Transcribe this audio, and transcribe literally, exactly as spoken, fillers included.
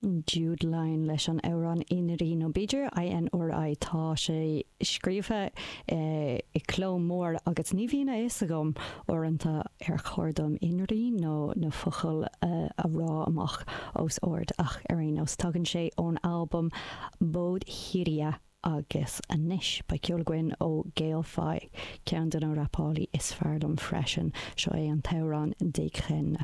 Jude Line leis an amhrán Inri nó b'fhéidir INRI tá sé scríofa eh, i cló mór agus ní bhíonn a fhios agam uaireanta ar chóir dom Inri nó na focail eh, a rá amach os ard ach ar aon nós tagann sé ón albam Bodhiria agus anois beidh ceol againn ó Gael Faye ceann de na rapálaí is fearr liom freisin seo é an t-amhrán Déchen.